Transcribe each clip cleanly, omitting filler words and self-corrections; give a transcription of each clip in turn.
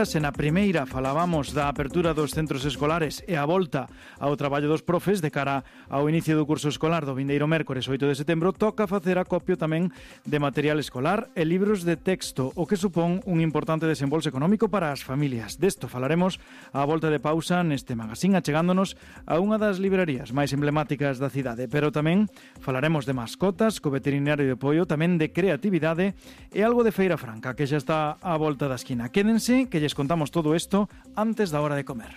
Se na primeira falábamos da apertura dos centros escolares e a volta ao traballo dos profes de cara ao inicio do curso escolar do vindeiro mércores 8 de setembro, toca facer acopio tamén de material escolar e libros de texto, o que supón un importante desembolso económico para as familias. Desto falaremos á volta de pausa neste magazín, achegándonos a unha das librarías máis emblemáticas da cidade, pero tamén falaremos de mascotas, co veterinario de apoio, tamén de creatividade e algo de Feira Franca, que xa está á volta da esquina. Quédense, que lles contamos todo esto antes da hora de comer.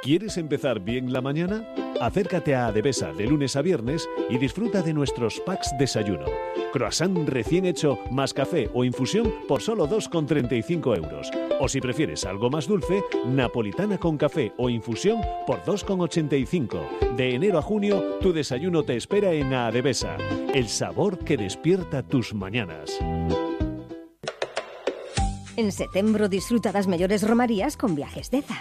¿Quieres empezar bien la mañana? Acércate a Adevesa de lunes a viernes y disfruta de nuestros packs desayuno. Croissant recién hecho más café o infusión por solo 2,35 euros. O si prefieres algo más dulce, napolitana con café o infusión por 2,85. De enero a junio, tu desayuno te espera en Adevesa. El sabor que despierta tus mañanas. En setembro disfruta das mellores romarías con Viajes Deza.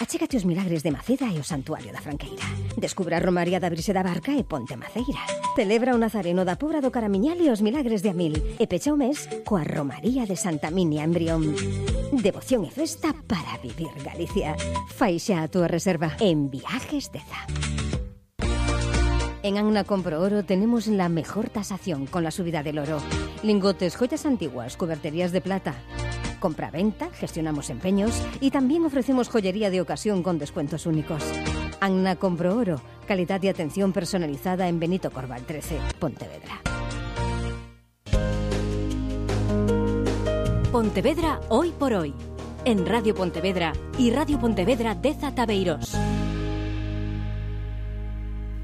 Achégate os milagres de Maceda e o Santuario da Franqueira. Descubra a Romaría da Virxe da Barca e Ponte Maceira. Celebra o Nazareno da Pobra do Caramiñal e os milagres de Amil. E pecha o mes coa Romaría de Santa Minia en Brión. Devoción e festa para vivir Galicia. Fai xa a túa reserva en Viajes Deza. En Anna Compro Oro tenemos la mejor tasación con la subida del oro. Lingotes, joyas antiguas, cuberterías de plata. Compra-venta, gestionamos empeños y también ofrecemos joyería de ocasión con descuentos únicos. Anna Compro Oro, calidad y atención personalizada en Benito Corval 13, Pontevedra. Pontevedra hoy por hoy. En Radio Pontevedra y Radio Pontevedra Deza Tabeiros.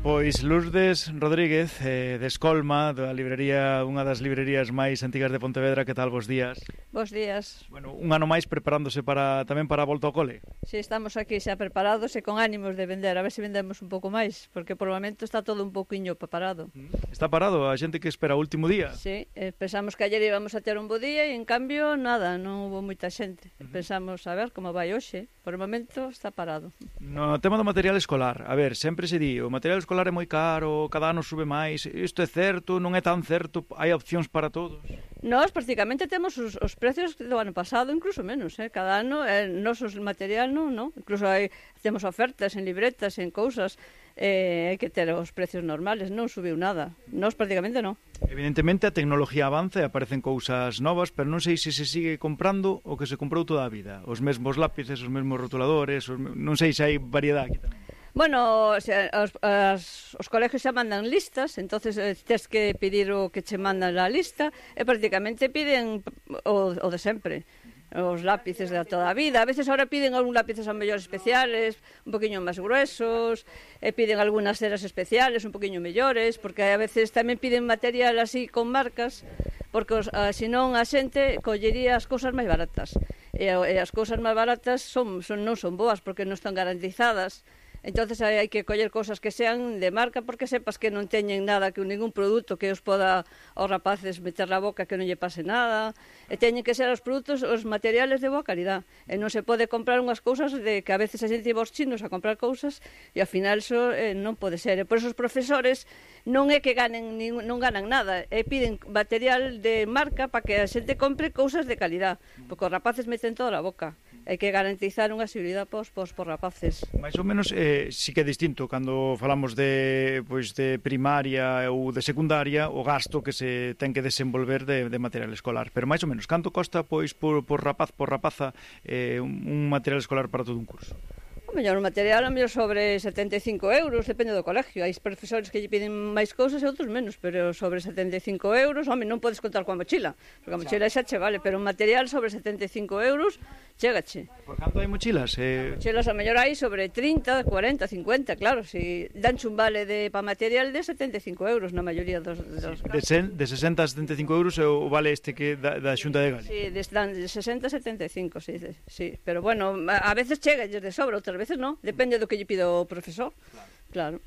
Pois Lourdes Rodríguez, de Escolma, da librería, unha das librerías máis antigas de Pontevedra, que tal, bos días? Bos días. Bueno, un ano máis preparándose tamén para a volta ao cole. Si, estamos aquí xa preparados e con ánimos de vender, a ver se vendemos un pouco máis, porque por o momento está todo un pouquiño parado. Está parado a xente que espera o último día? Si, pensamos que ayer íbamos a ter un bo día e en cambio nada, non hubo moita xente. Pensamos a ver como vai hoxe, por o momento está parado. No tema do material escolar, a ver, sempre se di, o material escolar é moi caro, cada ano sube máis, isto é certo, non é tan certo, hai opcións para todos? Nós prácticamente temos os precios do ano pasado, incluso menos, cada ano, nosos material non, incluso temos ofertas en libretas, en cousas, hai que ter os precios normales, non subiu nada, nós prácticamente non. Evidentemente a tecnología avanza e aparecen cousas novas, pero non sei se se sigue comprando o que se comprou toda a vida, os mesmos lápices, os mesmos rotuladores, non sei se hai variedade aquí tamén. Bueno, os colegios xa mandan listas, entonces tens que pedir o que che mandan a lista e prácticamente piden o de sempre, os lápices de toda a vida. A veces ahora piden algún lápices a mellores especiales, un poquinho máis gruesos, e piden algunhas ceras especiales un poquinho mellores, porque a veces tamén piden material así con marcas, porque senón a xente collería as cousas máis baratas, e as cousas máis baratas non son boas porque non están garantizadas. Entonces hai que coller cousas que sean de marca porque sepas que non teñen nada, que ningún produto que os poda aos rapaces meter na boca que non lle pase nada, e teñen que ser os produtos, os materiales de boa calidad, e non se pode comprar unhas cousas de que a veces a xente iba aos chinos a comprar cousas e ao final iso non pode ser, e por eso os profesores non é que non ganan nada, e piden material de marca para que a xente compre cousas de calidad, porque os rapaces meten todo na boca. Hai que garantizar unha seguridade pos rapaces. Mais ou menos sí que é distinto cando falamos de primaria ou de secundaria o gasto que se ten que desenvolver de material escolar, pero máis ou menos canto costa por rapaz, por rapaza un material escolar para todo un curso? O mellor material a mellor sobre 75 euros, depende do colegio. Hai profesores que lle piden máis cousas e outros menos, pero sobre 75 euros, non podes contar coa mochila, porque a mochila xa che vale, pero un material sobre 75 euros chégache. Por canto hai mochilas? Mochilas a mellor hai sobre 30, 40, 50, claro, si danche un vale para material de 75 euros na maioría dos casos. De 60 a 75 euros é o vale este que da Xunta de Galicia? Si, dan de 60 a 75, sí, pero bueno, a veces chega de sobra, outras veces non, depende do que lle pida o profesor. Claro.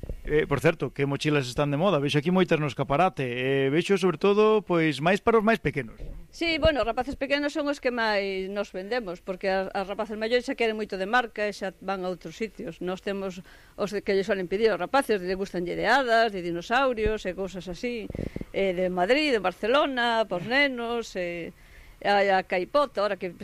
Por certo, que mochilas están de moda? Vexo aquí moitas no escaparate, vexo sobre todo máis para os máis pequenos. Sí, bueno, os rapaces pequenos son os que máis nos vendemos, porque as rapaces maiores xa queren moito de marca e xa van a outros sitios. Nós temos os que lle suelen pedir aos rapaces, de gustanlle de hadas, de dinosaurios e cousas así, de Madrid, de Barcelona, pos nenos, a caipota, ahora que